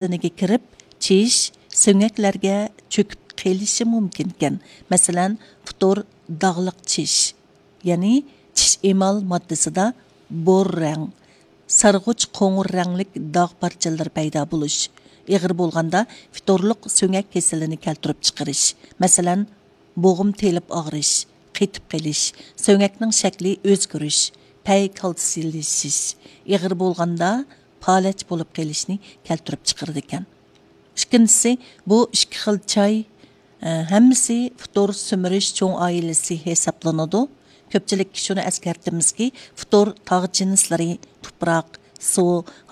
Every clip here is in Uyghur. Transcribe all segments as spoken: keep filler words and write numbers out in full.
بەدىنىگە كىرىپ، چىش سۆڭەكلەرگە چۆكۈپ قېلىشى مۇمكىنكەن. مەسىلەن، فتور داغلىق چىش، يەنى چىش ئېمال ماددىسىدا بور رەڭ، سارغۇچ قوڭۇر رەڭلىك داغ پارچىلىرى پەيدا بولۇش، ئېغىر بولغاندا فتورلۇق سۆڭەك كېسىلىنى كەلتۈرۈپ چىقىرىش، مەسىلەن، بوغۇم تېلىپ ئاغرىش، قېتىپ قېلىش، سۆڭەكنىڭ شەكلى ئۆزگىرىش، پەي كالتسىيلىشىش، ئېغىر بولغاندا پالەچ بولۇپ قېلىشنى كەلتۈرۈپ چىقىرىدىكەن. ئىككىنچىسى، بۇ ئىككى خىل چاي، ئە، ھەممىسى فتور سۈمۈرۈش چوڭ ئائىلىسى ھېسابلىنىدۇ. كۆپچىلىككە شۇنى ئەسكەرتىمىزكى، فتور تاغ جىنسلىرى، تۇپراق، سۇ،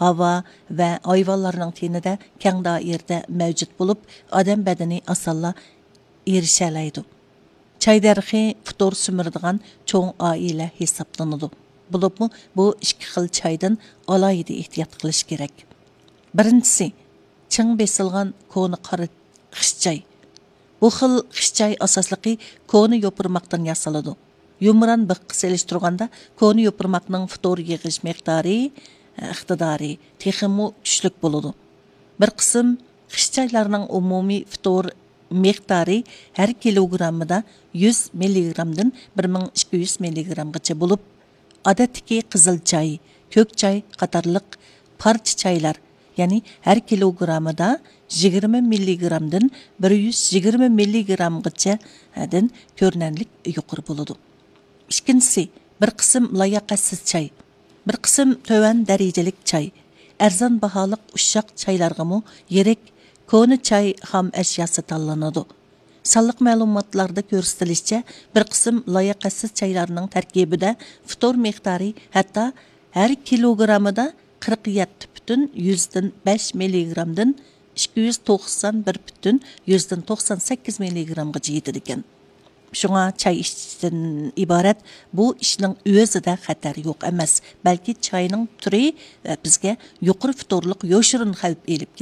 ھاۋا ۋە ھايۋانلارنىڭ تېنىدە كەڭ دائىرىدە مەۋجۇت بولۇپ، ئادەم بەدىنى ئاسانلا ئېرىشەلەيدۇ. چاي دەرىخى فتور سۈمۈرىدىغان چوڭ ئائىلە ھېسابلىنىدۇ. بولۇپمۇ بۇ ئىككى خىل چايدىن ئالاھىدە ئېھتىيات قىلىش كېرەك. بىرىنچىسى، چىڭ بېسىلغان كونا قارا خىش چاي. بۇ خىل خىش چاي ئاساسلىقى كونا يوپۇرماقتىن ياسىلىدۇ. يۇمران بىخقا سېلىشتۇرغاندا كونا يوپۇرماقنىڭ فتور يىغىش مىقدارى، ئىقتىدارى تېخىمۇ كۈچلۈك بولىدۇ. بىر قىسىم خىش چايلارنىڭ ئومۇمىي فتور مىقدارى ھەر كىلوگراممىدا يۈز مىللىگرامدىن بىر مىڭ ئىككى يۈز مىللىگرامغىچە بولۇپ، ئادەتتىكى قىزىل چاي، كۆك چاي قاتارلىق پارچە چايلار، يەنى ھەر كىلوگراممىدا يىگىرمە مىللىگرامدىن بىر يۈز يىگىرمە مىللىگرامغىچە، ھە، دىن كۆرۈنەرلىك يۇقىرى بولىدۇ. ئىككىنچىسى، بىر قىسىم لاياقەتسىز چاي، بىر قىسىم تۆۋەن دەرىجىلىك چاي، ئەرزان باھالىق ئۇششاق چايلارغىمۇ يىرىك كونا چاي خام ئەشياسى تاللىنىدۇ. سانلىق مەلۇماتلاردا كۆرسىتىلىشىچە، بىر قىسىم لاياقەتسىز چايلارنىڭ تەركىبىدە فتور مىقدارى ھەتتا ھەر كىلوگراممىدا قىرىق يەتتە پۈتۈن يۈزدىن بەش مىللىگرامدىن ئىككى يۈز توقسان بىر پۈتۈن يۈزدىن توقسان سەككىز مىللىگرامغىچە يېتىدىكەن. شۇڭا چاي ئىچىشتىن ئىبارەت بۇ ئىشنىڭ ئۆزىدە خەتەر يوق ئەمەس، بەلكى چاينىڭ تۈرى، ئە، بىزگە يۇقىرى فتورلۇق يوشۇرۇن خەۋپ ئېلىپ